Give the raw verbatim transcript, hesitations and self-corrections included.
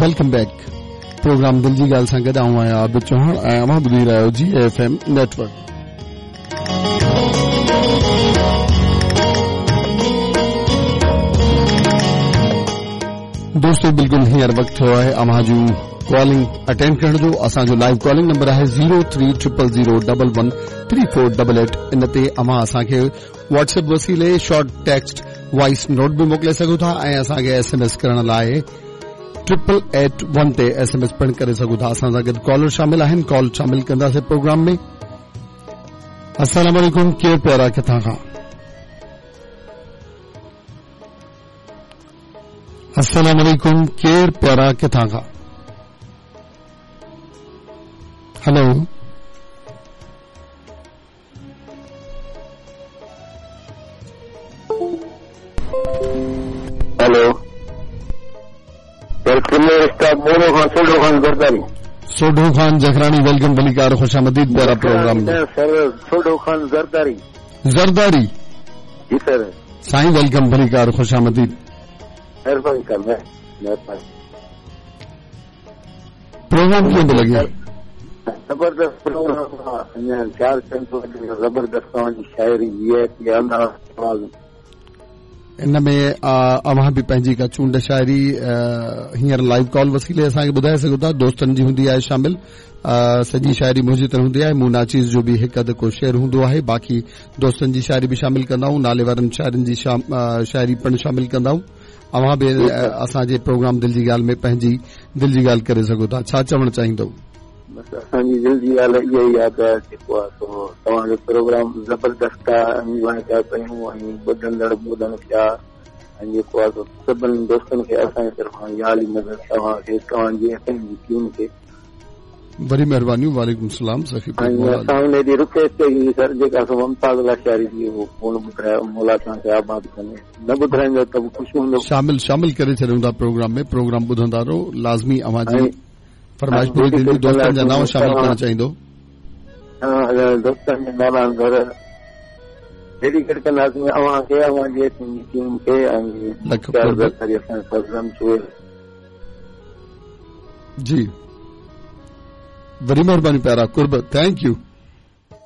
Welcome back. Programme दिल जी ॻाल्हि सां गॾु आउं आहियां आबिद चौहान ऐं अव्हां ॿुधी रहिया आहियो जी एफ एम नेटवर्क। दोस्तो बिल्कुलु हींअर वक़्तु थियो आहे अव्हां जूं कॉलिंग अटेंड करण जो। असांजो लाइव कॉलिंग नंबर आहे zero three triple zero double one three four double eight. इन ते अव्हां असांखे व्हाट्सएप वसीले शॉर्ट टेक्स्ट वॉइस नोट बि मोकिले सघो था ऐं असांखे एस एम एस करण लाइ ट्रिपल एट वन ते एस एम एस पिणु करे सघो था। असां सां गॾु कॉलर शामिल आहिनि, कॉल शामिल कंदासीं प्रोग्राम में। अस्सलाम वालेकुम, केरु प्यारा किथां खां? अस्सलाम वालेकुम, केरु प्यारा किथां खां? हेलो, हेलो मोरो खान सोढो खान जरदारी। सोढो खान जखरानी, welcome भलीकार, खुशामदीद प्यारा प्रोग्राम में। सर सोढो खान जरदारी। जरदारी जी सर। साईं welcome भलीकार, खुशामदीद। मेहरबानी कर मेहरबानी। प्रोग्राम कीअं थो लॻे? ज़बरदस्त प्रोग्राम, चार ज़बरदस्त तव्हांजी शाइरी जी। इन में अव्हां बि पंहिंजी का चूंड शाइरी हींअर लाइव कॉल वसीले असांखे ॿुधाए सघो था। दोस्तनि जी हूंदी आहे शामिल, सॼी शाइरी मुंहिंजी त हूंदी आहे, मूं नाचीज़ जो बि हिकु अधु को शेर हूंदो आहे, बाक़ी दोस्तनि जी शाइरी बि शामिल कंदा आहियूं, नाले वारनि शाइरनि जी शाइरी पिणु शामिल कंदा आहियूं। अव्हां बि असांजे प्रोग्राम दिल जी ॻाल्हि में पंहिंजी दिल जी ॻाल्हि करे सघो था। छा चवणु चाहींदो? बसि असांजी दिलि जी ॻाल्हि इहा ई आहे त जेको आहे सो तव्हांजो प्रोग्राम ज़बरदस्त आहे, ऐं पिया कयूं ऐं ॿुधंदड़ ॿुधनि पिया ऐं जेको आहे सो सभिनी दोस्तनि खे असांजे तरफ़ां याली मदद तव्हांखे, तव्हांजी असांजी टीम खे वरी महिरबानी। वालेकुम सलाम। सखी असां हुन ॾींहुं रिक्वेस्ट कई सर जेका सो मुमताज़ लाशारी जी उहो कोन ॿुधायो, मौला तव्हांखे आबाद कंदे, न ॿुधाईंदो त बि ख़ुशि हूंदो। शामिल शामिल करे छॾियूं था प्रोग्राम में, प्रोग्राम ॿुधंदा रहो, लाज़मी अव्हां जी फरमाइश पूरी थींदी। दोस्तनि जा नाम शामिल करणु चाहींदो? दोस्तनि जा नाला घर डेडिकेट कंदासीं अव्हांखे, अव्हांजी टीम खे ऐं जी वरी महिरबानी प्यारा, कुर्ब, thank you.